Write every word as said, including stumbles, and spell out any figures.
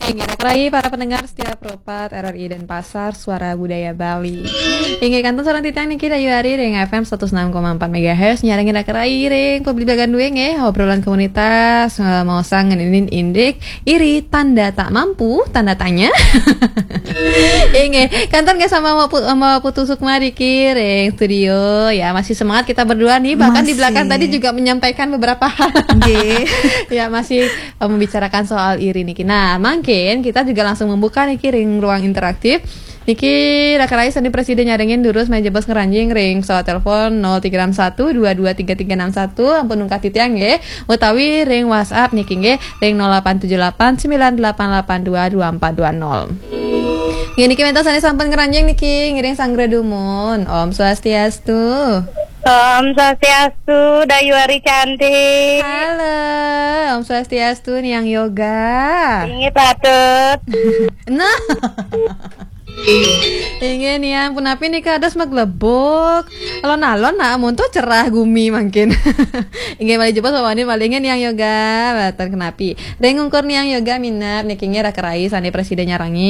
Inggih, raka rai para pendengar setia Pro empat R R I Denpasar, Suara Budaya Bali. Inggih, kantun sareng titiang niki Dayu Ari ring F M seratus enam koma empat megahertz, nyarengin raka rai ring pebligbagan dué nggih, obrolan komunitas, eh, maosang ngeninin indik, iri, tanda tak mampu, tanda tanya. Inggih, kantun nggih sama Mbak Pu-, Mbak Putu Sukma niki ring studio. Ya, masih semangat kita berdua nih, bahkan di belakang tadi juga menyampaikan beberapa hal. Nggih. Ya, masih eh, membicarakan soal iri niki. Nah, mangkin kita juga langsung membuka niki ring ruang interaktif. Niki raka rai sané prasida nyarengin durus malih jebos ngranjing ring pesawat telepon nol tiga enam satu dua dua tiga tiga enam satu, ampun ungkat titiang nggih, utawi ring WhatsApp niki nggih ring nol delapan tujuh delapan sembilan delapan delapan dua dua empat dua nol. Nggih, niki wénten sané sampun ngranjing niki ngiring sanggra dumun. Om Swastiastu. Om Swastiastu, Dayu Ari cantik. Halo, Om Swastiastu, Niang Yoga. Inggih patut. Nah. Inggih, Niang, punapi nika dados maglebuk. Alon-alon nah, amun tuh cerah gumi mangkin. Inggih, malih jebos wawani malih, inggih, Niang Yoga, mboten kenapi. Ring ungkur Niang Yoga minab niki nggih raka rai sané prasida nyarengin.